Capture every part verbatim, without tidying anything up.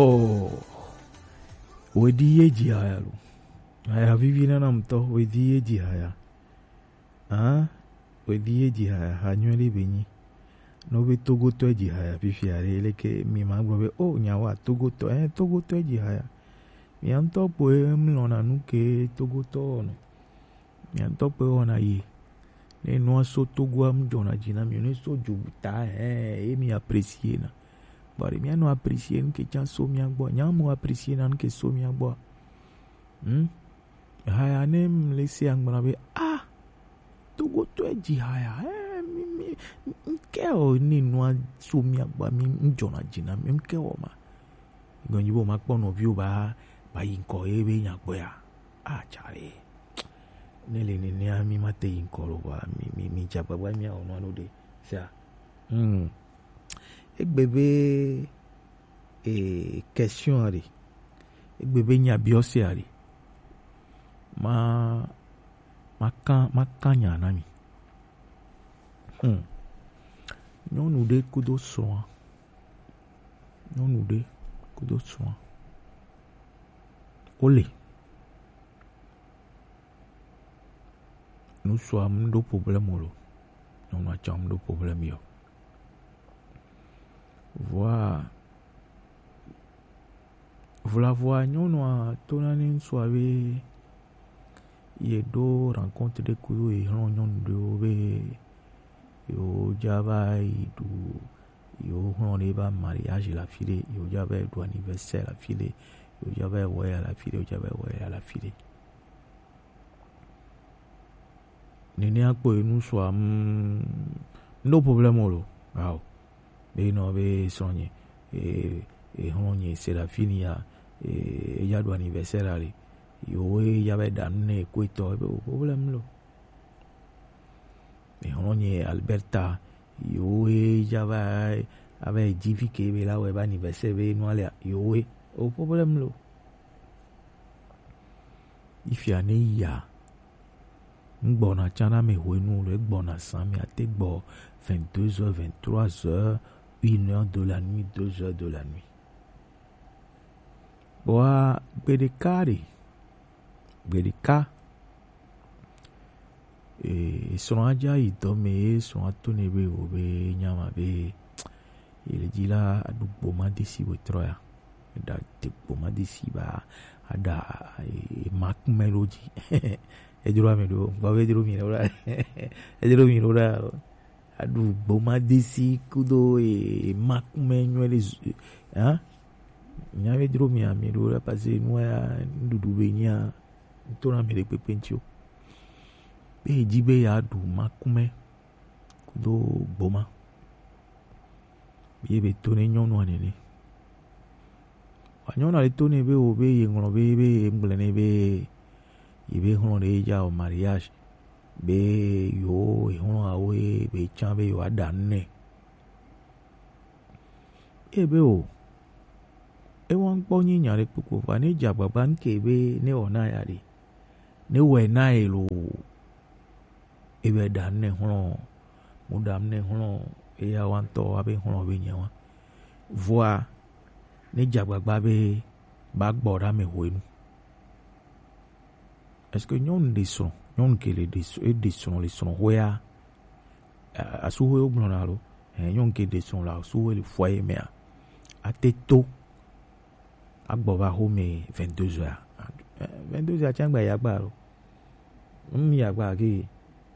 Oh, wedi ye dzi haya lo. Haya vivi nana ŋutɔ, wedi ye dzi haya. Ah, wedi ye dzi haya, ha nyuie ɖe be nyi. Ne wobe Togotɔ dzi haya fifia ɖe, leke mi ma gblɔ be, oh, nyawa Togotɔ, eh, Togotɔ dzi haya. Mia ŋutɔ kpoe mlɔna nu ke Togotɔ wɔna. Mia ŋutɔ kpoe wɔna yi. Ne nua so Togoa mu dzɔna dzi na mi, ne so dzu ta, eh, ye mi apprécier na. Bari mia nɔ apprécier nu ke can so mia gbɔ. Nya mu apprécier na nu ke so mia gbɔ. Hmm? Haya ne m le se angba be, ah, Togotɔe dzi haya, eh, mi, mi, mi, ke o ne nua so mia gbɔ, mi, m dzɔna dzi na mi, m ke o ma. Gɔnyi bo ma kpɔ nɔviwo ba, ba yi ŋkɔ ye be nya gbɔ ya. Ah, tsare. Ne le nenea mi ma te yi ŋkɔ lo ba, mi, mi, mi dza gbagba mia o nua no de. Sia. Hmm. Egbe be, eh, question aɖe. Egbe be nya biɔse aɖe. Ma, ma kan, ma kan nya na mi. Hmm. Nyɔnu ɖe kudo srɔ̃a. Nyɔnu ɖe kudo srɔ̃a. Wole. Ŋutsua mu ɖo problème o lo. Nyɔnua tsã mu ɖo problème yɔ. Vɔa, vɔa nyɔnua to na ne ŋutsua be ye ɖo rencontre ɖe kudo ye hlɔ̃ nyɔnu ɖewo be yewo dza va yi ɖu yewo hlɔ̃ ɖe va mariage le afi ɖe, yewo dza va yi ɖu anniversaire le afi ɖe, yewo dza va yi wɔ ya le afi ɖe, yewo dza va yi wɔ ya le afi ɖe. Nenea kpɔe ŋutsua, mm, no problème o lo. Ao. Be nɔ be srɔ̃nye, e, e hlɔ̃nye Serafini ya, e, eya ɖu anniversaire ale. Yo, eya be ɖa nu ne ko etɔ, ebe o problème lo. E hlɔ̃nye Alberta, yo, eya va, ava dzi vi ke be la wɔ be anniversaire be nu alea, yo, e, o problème lo. Ifia ne ya. Ŋgbɔna tsã na me hwenu le gbɔna zã me ate gbɔ vingt-deux heures, vingt-trois heures, une heure de la nuit, deux heures de la nuit. Kpɔa gbeɖeka ɖe, gbeɖeka, e, srɔ̃a dza yi dɔ me ye srɔ̃a to ne be wo be nyama be Ye le dzi la, aɖu gboma desi wòtrɔ ya. Eɖa te gboma desi ba, aɖa, e, makumɛ ɖo dzi. Edro ame ɖo, ŋgɔ be edro mi ɖo la. Edro mi ɖo la. Aɖu gboma desi kudo, e, makumɛ nyuie ɖe zu, hein? Nya be edro mi ame ɖo la, parce que nua ya, nuɖuɖu be nya, ŋutɔ na ame ɖe kpekpe ŋuti o. Be edzi be yeaɖu makumɛ kudo gboma. Ye be to ne nyɔnua nene. Wa nyɔnua le to ne be wo be ye ŋlɔ be, be ye ŋgble ne be ye be hlɔ̃ ɖe ye dza o mariage. Be yo ye hlɔ̃ awo ye be tsã be yo aɖa nu nɛ. Ebe o. Ewa ŋkpɔ nyi nya ɖe kpokpo va ne dze agbagba ŋke be ne wɔ na ya ɖe. Ne wɔe na ye lo. Ebe ɖa nu nɛ hlɔ̃. Mu ɖa nu nɛ hlɔ̃. Eya wa ŋtɔ wa be hlɔ̃ be nye wa. Vɔa ne dze agbagba be ba gbɔ ɖa me hwenu. Est-ce que nyɔnu ɖe srɔ̃, nyɔnu ke le ɖe srɔ̃, eɖe srɔ̃ le srɔ̃xɔea, a-, asuhoewo gblɔna alo, eh, nyɔnu ke ɖe srɔ̃ le asuhoe le foyer mea, ate to agbɔ va home vingt-deux heures? Eh, vingt-deux heures tsã gba ya gba alo? Ŋmi ya gba ke,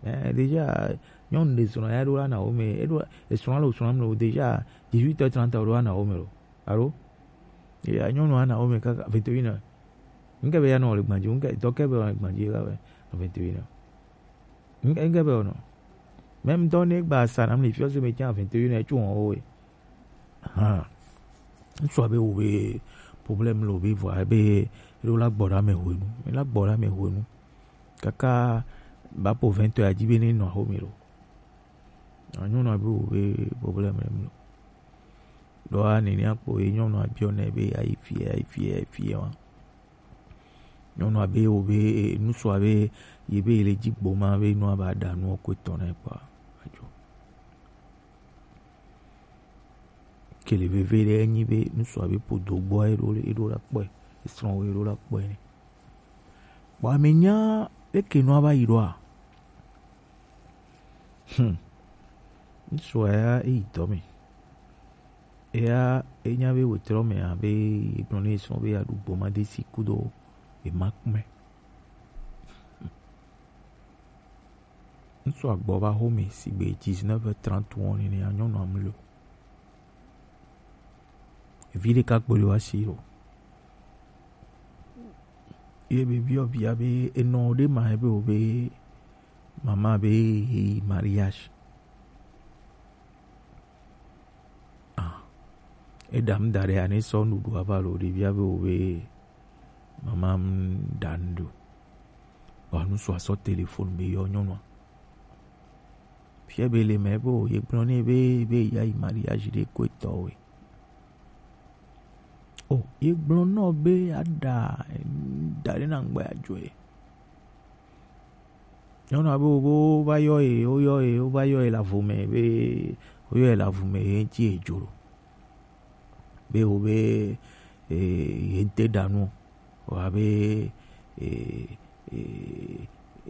eh, déjà, nyɔnu ɖe srɔ̃ ya ɖo la na home, eɖo, esrɔ̃ lo srɔ̃ lo, déjà, dix-huit heures trente ɖo la na home lo. Alo? Ya, nyɔnu ana wo me kaka vingt et une heures. Ŋke be ya nɔ le gbadzi, ŋke dɔ ke be le gbadzi la be vingt et une heures. Ŋke, ŋke be nɔ. Même dɔ ne gba sa nam le fiɔ se me tiens vingt et une heures, tu on, oui. Ha. Ŋsua be wo be problème lo be vɔ be lo la gbɔ ɖa me hwenu. Me la gbɔ ɖa me hwenu. Kaka ba po vingt heures adzi be ne nɔ ho me lo. Nyɔnua be wo be problème lo. Ɖoa nenia kpo ye nyɔnua biɔ nɛ be ayi fie, ayi fie, ayi fie wa. Nyɔnua be wo be, e, ŋsua be ye be ye le dzi gboma be nua ba ɖa nua ko etɔ̃ nɛ kpɔa. Adzo. Ok, Kele veve ɖe enyi be ŋutsua be ƒodo gbɔ eɖo eɖo la kpɔe, esrɔ̃ wo eɖo la kpɔe nɛ. Bɔ ame nya leke nua va yi ɖoa? Hmm. Ŋutsua ya eyi dɔ me. Eya enya be wetrɔ me abe egblɔ ne esrɔ̃ be yeaɖu gboma desi kudo ema kpɔe. Ŋutsua gbɔ va xɔme sigbe dix-neuf heures trente wɔn nene, nyɔnua mlɔ. Vi ɖeka kpɔ le wa si lo. Ye be biɔ via be enɔ ɖe ma ebe wo be mama be yi mariage. Ah, eɖam da ɖe ane sɔ nuɖuɖu ava lo ɖevia be wo be mama m ɖa nu ɖo. Wa nu sɔ asɔ telefon be yɔ nyɔnua. Fia be le mɛ be o ye gblɔ ne be be ya yi mariage ɖe ko etɔ we. O ye gblɔ nɔ be aɖa da ɖe na ŋgbɛ adzɔe. Nyɔnua be wo be wova yɔ ye, woyɔ ye, wova yɔ ye le avu me be woyɔ ye le avu me ye ŋuti ye dzo ɖo. Be wo be e, ye ŋte ɖa nu o. Wa be e, e,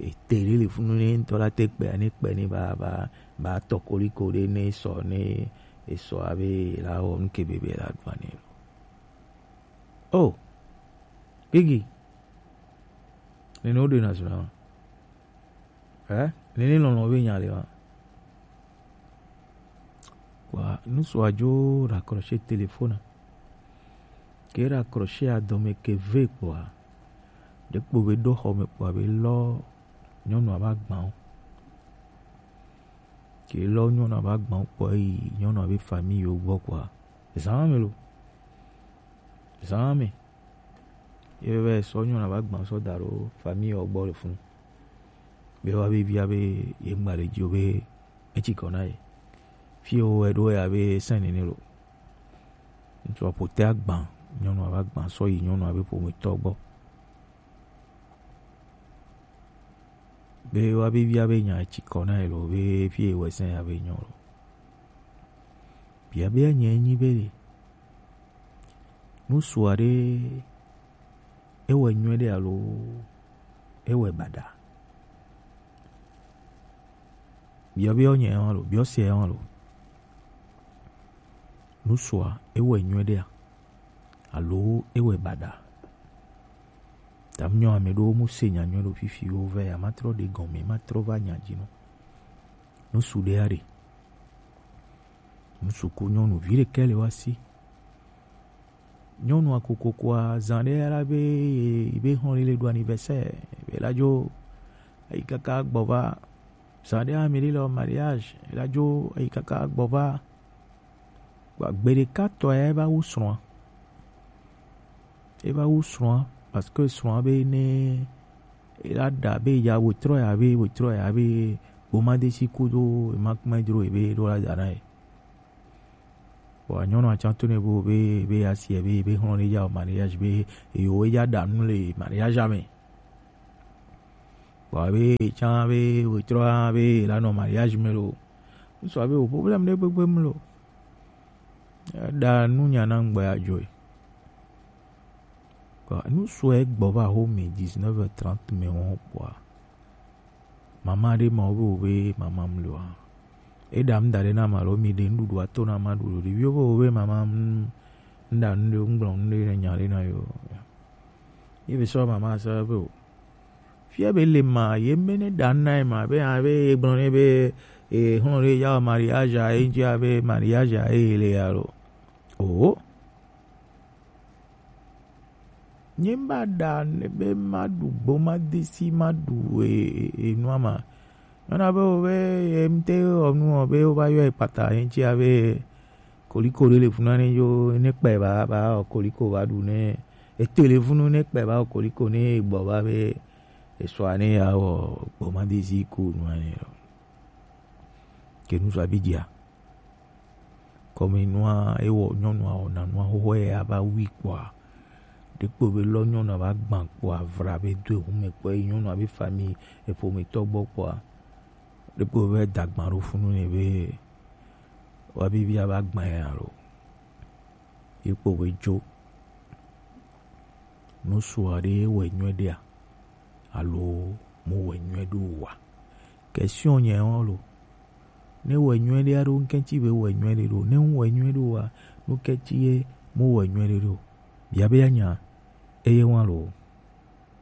e, te ɖe le funu ne ŋutɔ la te kpea ne kpe ne ba ba ba tɔ koliko ɖe ne sɔ ne esɔ abe la wɔ nu ke be be la ɖu ane lo. Oh, Biggie. Nene wo ɖe na zuna. Eh? Nene lɔlɔ be nya le wa. Kpɔa, ŋutsua dzo raccrocher téléphone. Ke raccrocher adɔme ke ve kpɔa, ɖekpo be ɖo xɔme kpɔa be lɔ nyɔnua va gbã wo. Ke lɔ nyɔnua va gbã wo kpɔa yi nyɔnua be famille yo gbɔ kpɔa. Zã me lo. Zã me. Ye be sɔ nyɔnua va gbã sɔ da ɖo famille yo gbɔ le funu. Be wa be via be ye ŋgba le dzi o be etsi kɔ na ye. Fi wo wɛ ɖo ya be sɛn nene lo. Ŋutsua ƒote agbã, nyɔnua va gbã sɔ yi nyɔnua be ƒometɔ gbɔ. Be wa be via be nya etsi kɔ na ye lo be fi ye wɛ sɛn ya be nyɔ lo. Biabia nye nyi be ŋutsua ɖe ewɛ nyuie ɖe alo ewɛ baɖa? Biɔ biɔ nye hã lo, biɔ se hã lo. Ŋutsua ewɛ nyuie ɖea alo ewɛ baɖa? Tam nyɔ ame ɖewo mu se nya nyuie ɖo fifi wo vɛ ya, matrɔ ɖe gɔme, matrɔ va nya dzi nɔ. Ŋutsu ɖe ya ɖe. Ŋutsu ku nyɔnu vi ɖekɛ le wa si. Nyɔnua kokokoa zã ɖe la be be hɔn le ɖo anniversaire be la dzo eyi kaka gbɔ va. Zã ɖe ame ɖe le mariage la dzo eyi kaka gbɔ va. Gbe ɖeka tɔ ya eva wu srɔ̃a. Eva wu srɔ̃a parce que srɔ̃a be ne ela ɖa be ya wetrɔ ya be wetrɔ ya be gboma desi kudo ema kpɛ dro ebe ɖo la da na ye. Bon, nyɔnua tsã to ne bo be be asi be be hlɔ̃ ne ya o mariage be yo ya ɖa nu le mariage me. Bon, be tsã be wetrɔ be la nɔ mariage me lo. Ŋutsua be o problème ɖe gbegbe me lo. Eɖa nu nya na ŋgbe adzɔe. Kɔ nu sɔe gbɔ va ho mi dix-neuf heures trente me wɔn kpɔa. Mama ɖe ma wo be wo be mama mlɔ a. Eɖa ŋda ɖe na ma lo mi ɖe nuɖuɖu ato na ma ɖu ɖo ɖeviwo be wo be mama ŋda nu ɖe ŋgblɔ nu ɖe nya ɖe na yo. Ye be sɔ mama sɔ be o. Fia be le ma ye me ne ɖa na ye ma be a be ye gblɔ ne be e hlɔ̃ ɖe ya mariage a ye ŋdzi a be mariage a ye le ya lo. O. Nye ba ɖa ne be ma ɖu gbo ma desi ma ɖu e, e, enua ma. Nyɔna be wo be ye ŋte wɔ nu wɔ be wo va yɔ ekpata ye ŋtsi a be koliko ɖe le funu ne yo ne kpɛ ba ba wɔ koliko va ɖu ne ete le funu ne kpɛ ba wɔ koliko ne gbɔ va be esɔa ne ya wɔ gbo ma desi ko nua ne lo. Ke nu sɔ abi dia. Kɔme nua ewɔ nyɔnua wɔna nua xoxo ya ava wui kpɔa. Ɖekpo be lɔ nyɔnua va gbã kpɔa vra be do ehume kpɔ yi nyɔnua be famille eƒometɔ gbɔ kpɔa. Ɖekpo be dagba ɖo funu ne be wa bibi ava gbã ya lo. Ye kpo be jo. Nu sua ɖe wɔ nyuie ɖea? Alo mu wɔ nyuie ɖo wa? Question nyɛ wɔn lo. Ne wɔ nyuie ɖe aɖo ŋkɛtsi be wɔ nyuie ɖe ɖo. Ne ŋu wɔ nyuie ɖo wa, nu kɛtsi ye mu wɔ nyuie ɖe ɖo. Bia be anya, eye wɔn lo.